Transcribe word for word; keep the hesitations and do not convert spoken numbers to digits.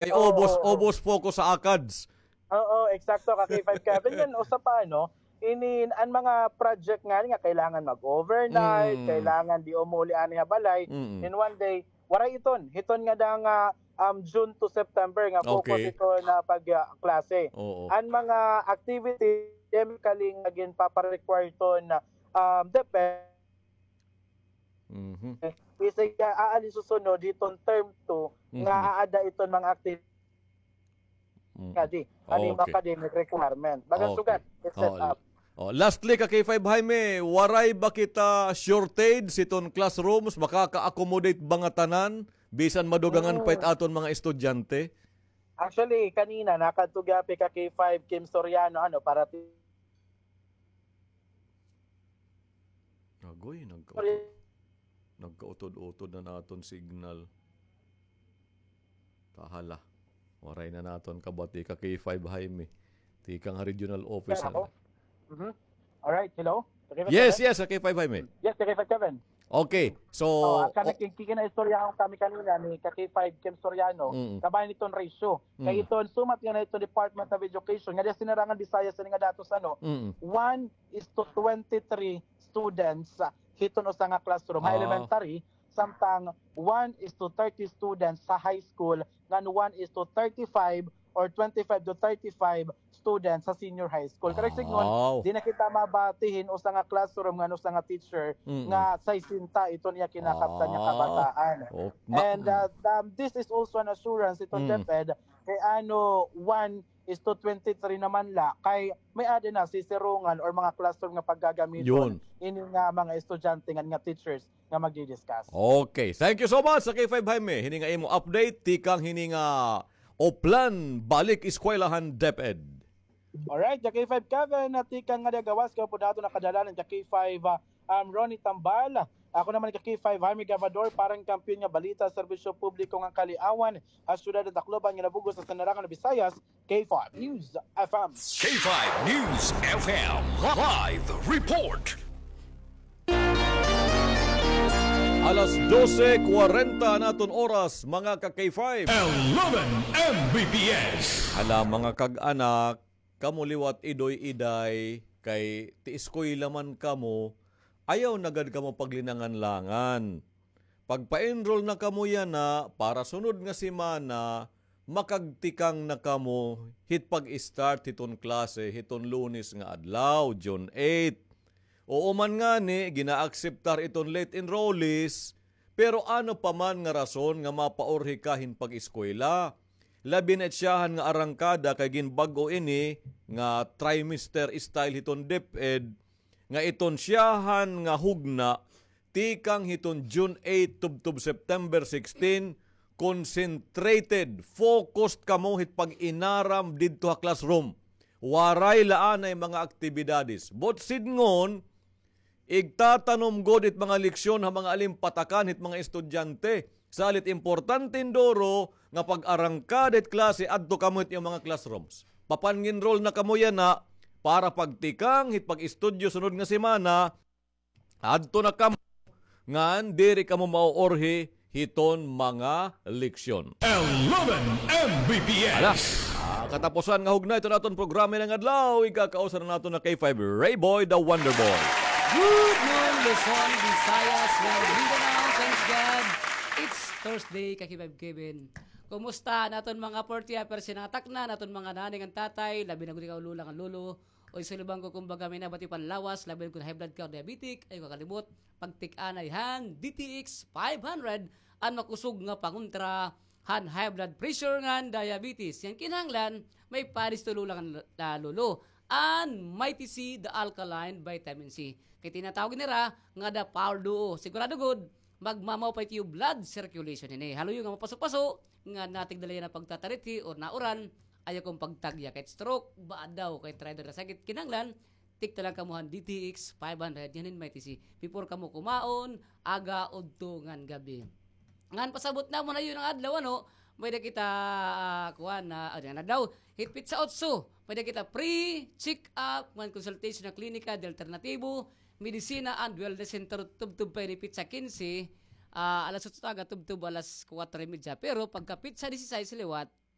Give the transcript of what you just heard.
Kay Oo, ubos, oo. ubos focus sa ACADS. Oo, eksakto, ka K five Kevin. Yan, usa pa, ano, inin, an mga project nga, nga kailangan mag-overnight, Mm. kailangan di umuli ani ha balay, Mm. in one day, waray iton. Hiton nga da nga, um, June to September nga focus Okay. ito na pag, ah, klase. Oo. An mga activity, chemically nga ginpapa-require iton, um, depende Mhm. Bisag, ah, aali susunod, hiton term two, nga Mhm. aada iton mga activity Mm. nga di, ano yung Okay. academic requirement. Baga Okay. sugad, it's set Oh, up. oh, lastly, ka K five Jaime, waray ba kita shortage hiton classrooms? Makaka-accommodate ba nga tanan? Bisan madugangan pa it Mm. aton mga estudyante? Actually, kanina, nakadto gihapon ka K five Kim Soriano, ano, para ti- Agoy, nagkautod, nagkautod-utod na naton signal. Tahala. Waray na naton kabati ka K five Jaime. Tikang ha regional office Kaya na. ako. Mhm. Alright, hello? Ka K five Yes, Kevin? yes, ka K five Jaime. Yes, ka K five Kevin. Okay, so, Oh, asa o- na kin-, kikinaistoryahan kami kanina ni ka K five Kim Soriano, Mm. kabahin iton ratio. Kay Mm. iton sumat nga na iton Department of Education, nga diya sinarangan Bisaya sini nga datos, ano, Mm. one is to twenty-three students, ah, hiton usa nga classroom ha Ah. elementary, samtang one is to thirty students sa high school, ngan one is to thirty-five or twenty-five to thirty-five students sa senior high school. Kay signon, Aw. di na kita mabati hin usa nga classroom ngan usa nga teacher Mm. nga sesenta iton iya kinakaptan nga Ah. kabataan. Oh, ma- And, uh, um, this is also an assurance iton Mm. DepEd kay ano, one is to twenty-three naman la, kay may-ada na sisirongan or mga classroom nga paggagamiton Yun. ini nga mga estudyante ngan nga teachers nga magdi-discuss. Okay. Thank you so much sa K five Jaime. Hini nga imo update, tikang hini nga Oplan Balik Eskwelahan DepEd. Alright, ka K five Kevin, na tikang nga diya gawas, kay upod naton nakadala an ka K five, ah, um, Ronnie Tambal. Ako naman ka K five Jaime Gabador, para han kampiyon nga balita, serbisyo publiko ngan kaliawan ha siyudad han Tacloban ngan ha bug-os nga Sanarangan, Visayas, K five News F M. K five News F M live report. Alas dose kwarenta an aton oras, mga ka K five. Eleven M B P S. Hala, mga kag-anak, kamo liwat idoy-iday, kay ti eskwela man kamo, ayaw na gad kamo paglinangan-langan. Pagpa-enroll na kamo yana, para sunod nga semana, makagtikang na kamo hit pag-start hiton klase hiton Lunes nga adlaw, June eight. Oo man ngani, gina-akseptar iton late enrollees, pero ano pa man nga rason nga mapaurhi ka hin pag-eskwela? Labi na it syahan nga arangkada kay ginbag-o ini nga trimester style hiton DepEd, nga iton syahan nga hugna tikang hiton June eight tubtob September sixteen, concentrated, focused kamo hit pag-inaram didto ha classroom. Waray la anay mga aktibidades. Buot sidngon, igtatanom gud it mga leksyon ha mga alimpatakan hit mga estudyante. Salit importante hin duro nga pag-arangkada hit klase, adto kamo hit iyo mga classrooms. Papanginrol na kamo yana para pagtikang hit pag-estudyo sunod nga semana, adto na kamo, ngan diri kamo mauurhi hiton mga leksyon. Eleven M B P S. Ala, ah, katapusan nga hugna iton aton programa ngada adlaw, ikakausa na naton na K five Ray Boy, the Wonder Boy. Good noon, Luzon, Visayas, well, Mindanao, thanks God. It's Thursday, ka K five Kevin. Kumusta an aton mga forty years nga takna, an aton mga nanay ngan tatay, labi na gud ikaw, lola ngan lolo, Oy, sa libang ko, kumbaga, may nabati pan lawas, labi na kon high blood ka o diabetic, ayaw kakalimot, pagtik-anay han D T X five hundred, an makusog nga pangontra han high blood pressure ngan diabetes. Ngan kinahanglan, may padisto lola ngan, ah, lolo. An Mighty C, the alkaline vitamin C. Kay tinatawag nira nga the power duo. Sigurado gud, magmamaw pa it iyo blood circulation hini. Haluyo nga mapaso-paso, nga natigda la yana pagtatarithi or nauran, ayaw kon pagtagya kay stroke, ba daw kay rider nga sakit, kinahanglan, tikta la kamo han D T X five hundred, yana hin Mighty C. Before kamo kumaon, aga, udto, ngan gab-i. Ngan pasabot namon ha iyo nga adlaw, ano, may-ada kita, ah, kuan, ah, ah, yana daw, hit petsa otso, may-ada kita free check-up, ngan consultation ha klinika, de alternatibo, medisina and wellness center, tubtob pa ini petsa kinse, ah, alas otso aga, tubtob alas kuwatro y medya. Pero pagka petsa disisais liwat,